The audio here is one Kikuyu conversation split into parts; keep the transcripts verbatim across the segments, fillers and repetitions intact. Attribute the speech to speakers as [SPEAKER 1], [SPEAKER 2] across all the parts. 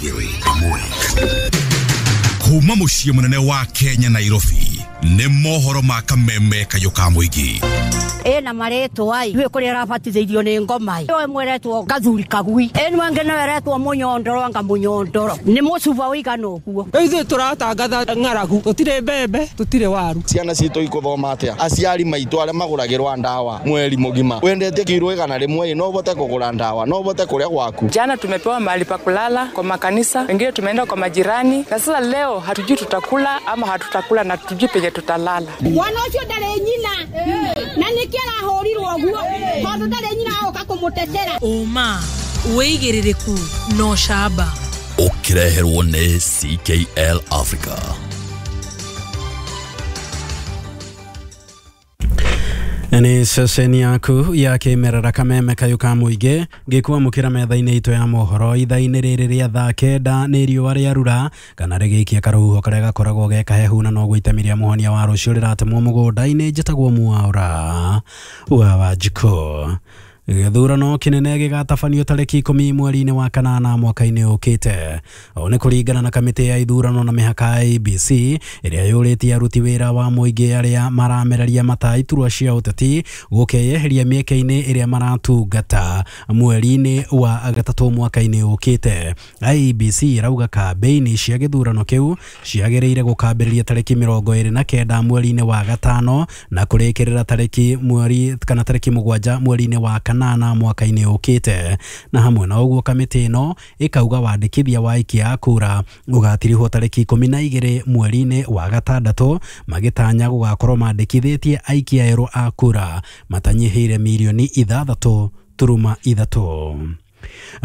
[SPEAKER 1] Kuma muciĩ mũnene wa Kenya Nairobi nĩ mohoro ma kameme kayũ ka mũingĩ.
[SPEAKER 2] Ĩna marĩtwa ai rĩu kũrĩa arabatithĩirio nĩ ngoma ĩyo ĩmwe ĩretwo gathuri kagui, ĩno ĩngĩ nayo ĩretwo mũnyondoro, anga mũnyondoro nĩ mũcuba ũigana ũguo.
[SPEAKER 3] Rĩu ithuĩ tũratangatha ng'aragu, tũtirĩ mbembe, tũtirĩ waru.
[SPEAKER 4] Ciana citũ ikuthoma atĩa? Aciari maitũ arĩa magũragĩrwa ndawa mweri mũgima, wendete kiro igana rĩmwe no ũhote kũgũra ndawa, no ũhote kũrĩa gwaku.
[SPEAKER 5] Jana tumepewa mahali pa kulala kwa makanisa, wengine tumeenda kwa majirani, na sasa leo hatujui tutakula ama hatutakula na hatujui penye tutalala.
[SPEAKER 6] Mwana ũcio ndarĩ nyina na nĩkĩo arahũrirwo ũguo tondũ ndarĩ nyina agoka kũmũtetera.
[SPEAKER 7] Ũma wĩigĩrĩrĩku no camba.
[SPEAKER 1] Ũkĩreherwo nĩ C K L Africa.
[SPEAKER 8] Nĩ ceceni yaku ya kĩmerera kameme kayũ ka mũingĩ ngĩkwamũkĩra metha-inĩ itũ ya mohoro ithaa-inĩ rĩrĩ rĩa thaa kenda nĩ riũa rĩarura kana rĩgĩikia karũhuho karĩa gakoragwo ge kahehu na noguo itemi rĩa mũhonia wa rũciũ rĩratemwo mũgũnda-inĩ. Njĩtagwo Mwaũra wa Wanjikũ. Gĩthurano kĩnene gĩgatabanio tarĩki ikũmi mweri-inĩ wa kanana mwaka-inĩ ũkĩte. Ũũ nĩ kũringana na kamĩtĩ ya ithurano na mĩhaka ya I B C ĩrĩa yũrĩtie aruti wĩra wa mũingĩ arĩa maramereria mata iturwa cia ũteti gũkeyeheria mĩeke-inĩ ĩrĩa maratungata mweri-inĩ wa gatatũ mwaka-inĩ ũkĩte. I B C ĩrauga kambĩini cia gĩthurano kĩu ciagĩrĩire gũkambĩrĩria tarĩki mĩrongo ĩrĩ na kenda mweri-inĩ wa gatano na kũrĩkĩrĩra tarĩki mweri kana tarĩki mũgwanja mweri-inĩ wa kanana mwaka-inĩ ũkĩte. Na hamwe na ũguo kamĩtĩ ĩno ĩkauga wandĩkithia wa aikia a kura ũgatirihwo tarĩki ikũmi na igĩrĩ mweri-inĩ wa gatandatũ, magĩtanya gũgakorwo mandĩkithĩtie aikia erũ a kura matanyihĩire mirioni ithathatũ turuma ithatũ.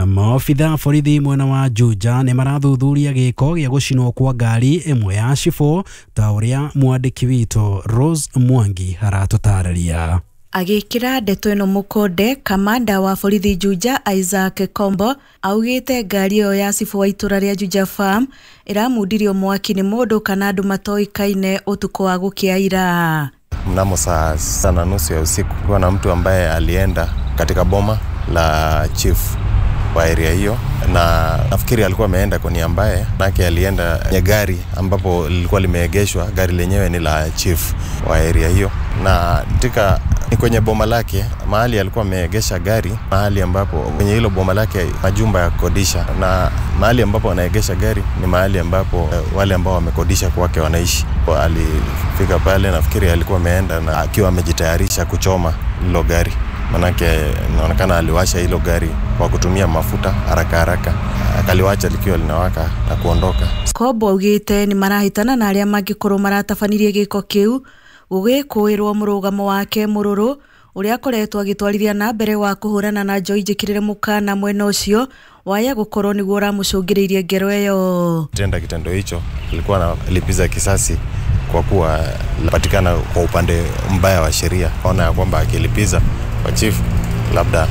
[SPEAKER 8] Maobitha borithi mwena wa Juja nĩ marathuthuria gĩko gĩa gũcinwo kwa ngari ĩmwe ya cibũ ta ũrĩa mwandĩki witũ Rose Mwangi aratũtarĩria.
[SPEAKER 9] Agĩkĩra ndeto ĩno mũkonde, kamanda wa borithi Juja Isaac Kombo augĩte ngari ĩyo ya cibũ wa itũra rĩa Juja Farm ĩramundirio mwaki nĩ mũndũ kana andũ matoĩkaine ũtukũ wa gũkĩa ira.
[SPEAKER 10] Mnamo saa sita na nusu ya usiku kulikuwa na mtu ambaye alienda katika boma la chief wa area hiyo, na nafikiri alikuwa ameenda kwa nia mbaya, manake alienda kwenye gari ambapo lilikuwa limeegeshwa. Gari lenyewe ni la chief wa area hiyo, na katika ni kwenye boma lake mahali alikuwa ameegesha gari, mahali ambapo kwenye hilo boma lake majumba ya kukodisha, na mahali ambapo anaegesha gari ni mahali ambapo wale ambao wamekodisha kwake wanaishi. Kwa alifika pale, nafikiri alikuwa ameenda na akiwa amejitayarisha kuchoma hilo gari, manake inaonekana aliwasha hilo gari kwa kutumia mafuta haraka haraka, akaliwacha likiwa linawaka na kuondoka.
[SPEAKER 9] Kombo augĩte nĩ marahĩtana na arĩa mangĩkorwo maratabanirie gĩko kĩu gũgĩkũĩrwo mũrũgamo wake mũrũrũ ũrĩa akoretwo agĩtwarithia na mbere wa kũhũrana na njohi njĩkĩrĩre mũkana mwena ũcio waya gũkorwo nĩguo ũramũcũngĩrĩirie ngero ĩyo.
[SPEAKER 10] Tenda kitendo hicho alikuwa analipiza kisasi kwa kuwa patikana kwa upande mbaya wa sheria. Ona ya kwamba akilipiza kwa chief labda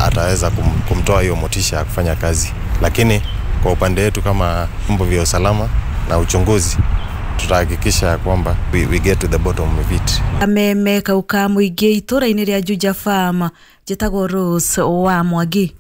[SPEAKER 10] ataweza kum, kumtoa hiyo motisha ya kufanya kazi, lakini kwa upande wetu kama vyombo vya usalama na uchunguzi tutahakikisha kwamba we, we get to the bottom of it.
[SPEAKER 9] Kameme kauka mũingĩ itũra-inĩ rĩa Juja Farm, njĩtagwo Rose wa Mwangi.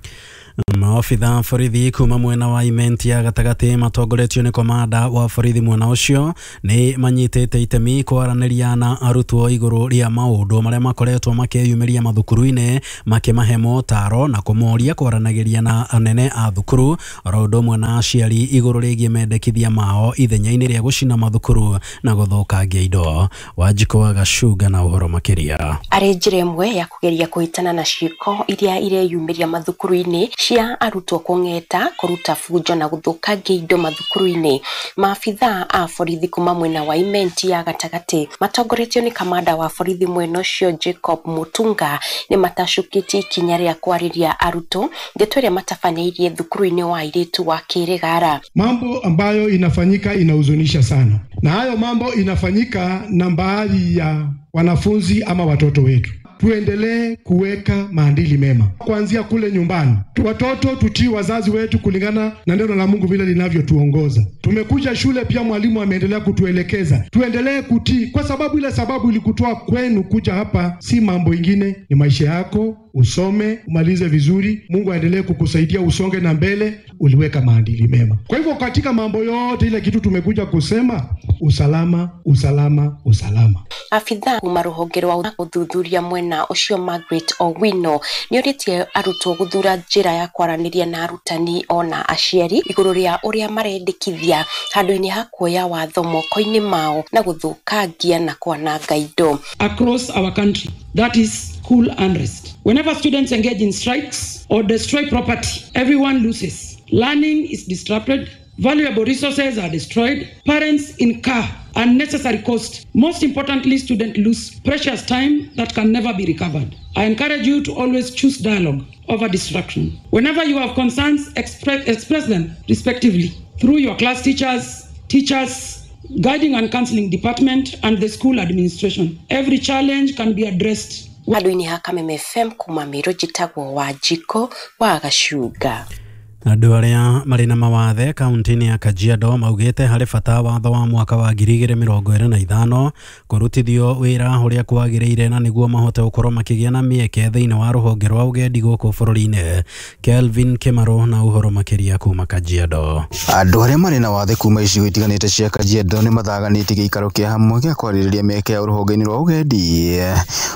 [SPEAKER 8] Maobitha borithi kuma mwena wa Imenti ya gatagatĩ matongoretio nĩ komanda wa borithi mwena ũcio nĩ manyitĩte itemi kwaranĩria na arutwo igũrũ rĩa maũndũ marĩa makoretwo makĩyumĩria mathukuru-inĩ, makĩmahe motaro na kũmoria kwaranagĩria na anene a thukuru oro ũndũ ũmwe na aciari igũrũ rĩgiĩ mendekithia mao ithenya-inĩ rĩa gũcina mathukuru na gũthũkangia indo. Wanjikũ wa Gacunga na ũhoro makĩria.
[SPEAKER 11] Arĩ njĩra ĩmwe ya kũgeria kũhĩtana na ciĩko iria ireyumĩria mathukuru-inĩ cia arutwo kũng'eta, kũruta bunjo na gũthũkangia indo mathukuru-inĩ. Maabitha a borithi kuma mwena wa Imenti ya gatagatĩ matongoretio nĩ kamanda wa borithi mwena ũcio Jacob Mutunga nĩ matacũkĩtie ikinya rĩa kwarĩria arutwo ndeto ĩrĩa matabanĩirie thukuru-inĩ wa airĩtu wa Kĩrĩgara.
[SPEAKER 12] Mambo ambayo inafanyika inahuzunisha sana, na hayo mambo inafanyika na baadhi ya wanafunzi ama watoto wetu. tuendelee kuweka maadili mema kuanzia kule nyumbani. Watoto tutii wazazi wetu kulingana na neno la Mungu vile linavyotuongoza. Tumekuja shule pia, mwalimu ameendelea kutuelekeza tuendelee kutii, kwa sababu ile sababu ilikutoa kwenu kuja hapa si mambo ingine, ni maisha yako. Usome, umalize vizuri, Mungu aendelee kukusaidia usonge na mbele, uliweka maadili mema. Kwa hivyo katika mambo yote, ile kitu tumekuja kusema usalama, usalama, usalama.
[SPEAKER 11] Abithaa kuma rũhonge rwa ũthuthuria mwena ũcio Margaret Owino nĩorĩtie arutwo gũthura njĩra ya kwaranĩria na arutani ona aciari igũrũ rĩa ũrĩa marendekithia handũ-inĩ ha kuoya watho moko-inĩ mao na gũthũkangia na kwananga indo.
[SPEAKER 13] Across our country, that is school unrest. Whenever students engage in strikes or destroy property, everyone loses. Learning is disrupted, valuable resources are destroyed, parents incur unnecessary cost. Most importantly, students lose precious time that can never be recovered. I encourage you to always choose dialogue over destruction. Whenever you have concerns, express, express them respectively through your class teachers, teachers, guiding and counseling department, and the school administration. Every challenge can be addressed.
[SPEAKER 11] Handũ-inĩ ha Kameme F M kuma Meru njĩtagwo Wanjikũ wa Gacunga.
[SPEAKER 8] Andũ arĩa marĩ na mawathe kaunti-inĩ ya Kajiado maugĩte harĩ bata watho wa mwaka wa ngiri igĩrĩ mĩrongo ĩrĩ na ithano kũrutithio wĩra ũrĩa kwagĩrĩire na nĩguo mahote gũkorwo makĩgĩa na mĩeke thĩinĩ wa rũhonge rwa ũgendi gũkũ bũrũri-inĩ. Kelvin Kimaro na ũhoro makĩria kuma Kajiado.
[SPEAKER 14] Andũ arĩa marĩ na wathe kuma icigo itiganĩte cia Kajiado nĩ mathaganĩtie gĩikaro kĩa hamwe gĩa kwarĩrĩria mĩeke ya rũhonge-inĩ rwa ũgendi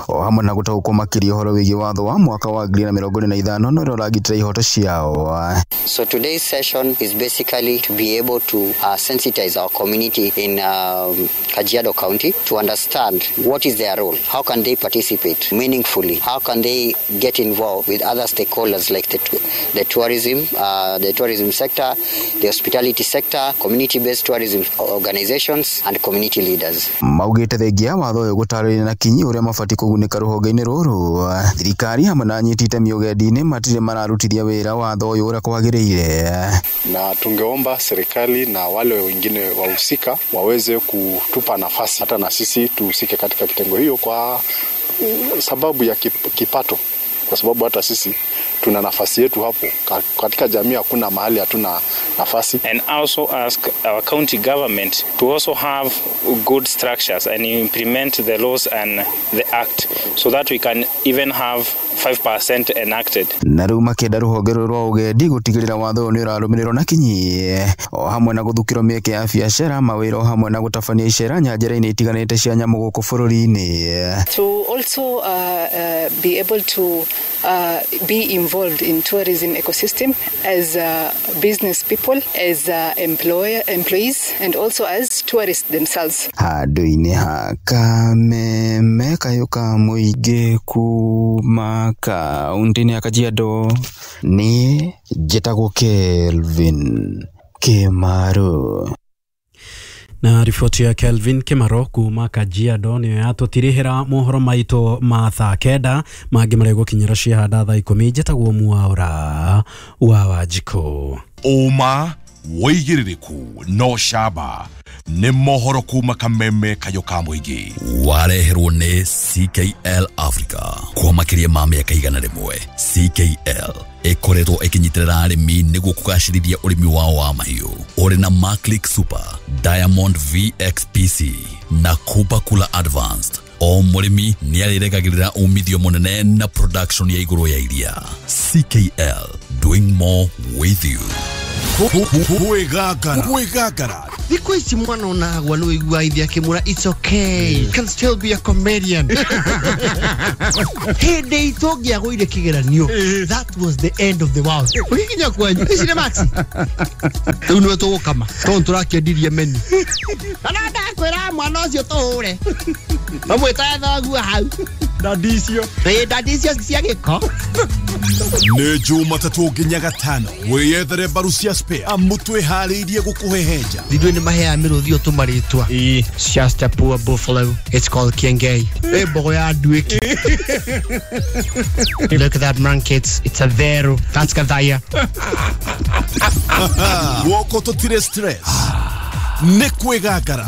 [SPEAKER 14] o hamwe na gũtaũkwo makĩria ũhoro wĩgiĩ watho wa mwaka wa ngiri na mĩrongo ĩrĩ na ithano na ũrĩa ũragitĩra ihoto ciao.
[SPEAKER 15] So today's session is basically to be able to uh, sensitize our community in um, Kajiado County to understand what is their role, how can they participate meaningfully, how can they get involved with other stakeholders like the, the tourism, uh, the tourism sector, the hospitality sector, community-based tourism organizations and community leaders.
[SPEAKER 14] Maugĩte thengia watho ũyũ gũtarĩria na kinyi ũrĩa mabatiĩ kũgunĩka rũhonge-inĩ rũrũ. Thirikari hamwe na anyiti itemi ũgendi-inĩ matirĩ mararutithia wĩra watho ũyũ ũrĩa kwagĩrĩire.
[SPEAKER 16] Na tungeomba serikali na wale wengine wahusika waweze kutupa nafasi hata na sisi tuhusike katika kitengo hiyo kwa sababu ya kipato, kwa sababu hata sisi tuna nafasi yetu hapo katika jamii, hakuna mahali hatuna nafasi.
[SPEAKER 17] And also ask our county government to also have good structures and implement the laws and the act so that we can even have five percent enacted.
[SPEAKER 14] Na rĩu makĩenda rũhonge rũrũ rwa ũgendi gũtigĩrĩra watho ũyũ nĩ ũrarũmĩrĩrwo na kinyi o hamwe na gũthukĩrwo mĩeke ya biacara, mawĩra o hamwe na gũtabania icera nyanjara-inĩ itiganĩte cia nyamũ gũkũ bũrũri-inĩ.
[SPEAKER 18] To also uh, uh, be able to uh, be involved in tourism ecosystem as uh, business people, as uh, employer, employees and also as tourists themselves.
[SPEAKER 14] Handũ-inĩ ha Kameme kayũ ka mũingĩ kuma kaunti-inĩ ya Kajiado nĩ njĩtagwo Kelvin Kimaro.
[SPEAKER 8] Na riboti ya Kelvin Kimaro kuma Kajiado nĩyo yatũtirihĩra mohoro maitũ ma thaa kenda mangĩ marĩa gũkinyĩra ciahanda thaa ikũmi. Njĩtagwo Mwaura wa Wanjikũ.
[SPEAKER 1] Ũma wĩigĩrĩrĩku no camba nĩ mohoro kuma Kameme kayũ ka mũingĩ
[SPEAKER 19] wareherwo nĩ C K L Africa kwa makĩria ma mĩaka igana rĩmwe. C K L ĩkoretwo ĩkĩnyitĩrĩra arĩmi nĩguo kũgacĩrithia ũrĩmi wao wa mahiũ ũrĩ na Maclick Super, Diamond V X P C na Kupa Kula Advanced. O mũrĩmi nĩarĩrekagĩrĩra umithio mũnene na production ya igũrũ ya iria. C K L, doing more with you.
[SPEAKER 1] Kwĩgangara
[SPEAKER 20] thikũ ici mwana onagwa nĩ wĩiguaga ithe akĩmwĩra it's okay, you can still be a comedian. Hĩndĩ itũ ũngĩagũire kĩgeranio, that was the end of the world. Ũgĩkinya kwanyu ici nĩ maxi rĩu nĩwe tũgũkama tondũ tũrakĩendirie menu kana ndakwĩra mwana ũcio tũhũre mamwĩtae thoguo hau
[SPEAKER 16] ndandi icio
[SPEAKER 20] ĩĩ ndandi icio cia gĩko.
[SPEAKER 1] Nĩ Jumatatũ nginya Gatano wĩyethere mbaru cia spare amu twĩharĩirie gũkũhehenja.
[SPEAKER 20] Ithuĩ nĩ maheaga mĩrũthi ũyũ tũmarĩtwa. It's just a poor buffalo, it's called Kiengei. Ĩ mbogo ya nduĩki. Look at that monkey, it's, it's a vero, that's Gathaya.
[SPEAKER 1] Guoko tũtirĩ stress nĩ kwĩgangara.